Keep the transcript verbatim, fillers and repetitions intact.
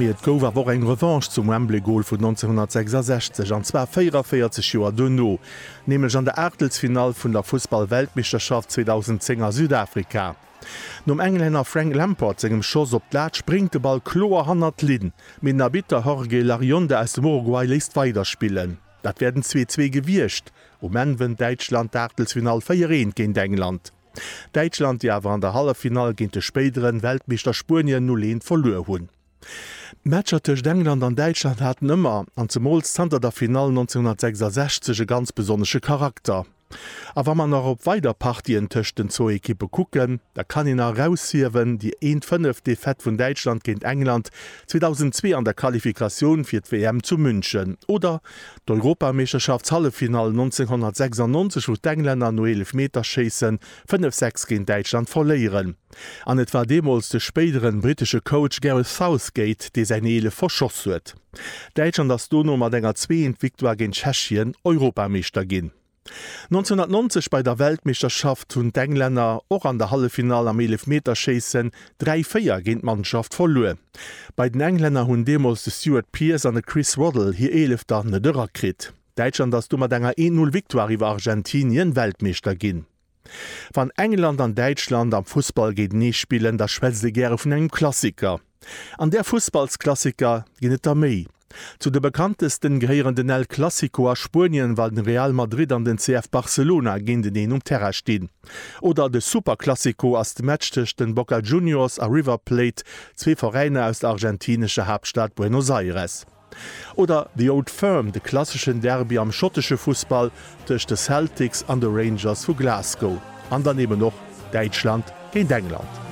Mee et gouf awer och eng Revanche zum Wembley-Gol vun neunzehnhunnertsechsundsechzeg, an zwar véierunvéierzeg Joer duerno, nämlech an der Aachtelsfinall vun der Fussball-Weltmeeschterschaft zweedausendzéng a Südafrika. Nom Englänner Frank Lampard sengem Schoss op d'Lat spréngt de Ball kloer hannert d'Linn, mee den Arbitter Jorge Larrionda aus dem Uruguay léisst weiderspillen. Dat wär den zwee zwee gewiescht. Um Enn wënnt Däitschland d'Aachtelsfinall véier eent géint England. Däitschland, déi awer an der Halleffinall géint de spéideren Weltmeeschter Spuenien null eent verluer hunn. D'Matcher tëscht England an Däitschland haten ëmmer, an zemools zanter der Finall neunzehnhunnertsechsundsechzeg, e ganz besonnesche Charakter. A wa mer nach op weider Partien tëscht den zwou Ekippe kucken, da kann een nach eraushiewen, déi eent fënnef Defaite vun Däitschland géint England zweedausendzwee an der Qualifikatioun fir d'W M zu München oder d'Europameeschterschaftshalleffinall neunzehnhunnertsechsundneunzeg, wou d'Englänner no Eelefmeterschéisse fënnef sechs géint Däitschland verléieren. An et war deemools de spéideren brittesche Coach Gareth Southgate, dee säin Eelef verschoss huet. Däitschland ass dono mat enger zwee eent Victoire géint Tschechien Europameeschter ginn. neunzehnhunnertneunzeg bei der Weltmeeschterschaft hunn d'Englänner och an der Halleffinall am Eelefmeterschéissen dräi véier géint d'Mannschaft verluer. Bei den Englänner hunn deemools de Stuart Pearce an de Chris Waddle hir Eelefter net erakritt. Däitschland ass du mat enger een Null Victoire iwwer Argentinien Weltmeeschter ginn. Wann England an Däitschland am Fussball géintenee spillen, da schwätzt ee gäre vun engem Klassiker. An där Fussballsklassiker ginn et der méi. Zu de bekanntesten gehéieren den El Clasico a Spuenien, wann den Real Madrid an den C F Barcelona géinteneen um Terrain stinn. Oder de Superclásico ass de Match tëscht den Boca Juniors a River Plate, zwee Veräiner aus der argentinescher Haaptstad Buenos Aires. Oder The Old Firm, de klasseschen Derby am schottesche Fussball tëscht de Celtics an de Rangers vu Glasgow. An dann eben och Däitschland géint England.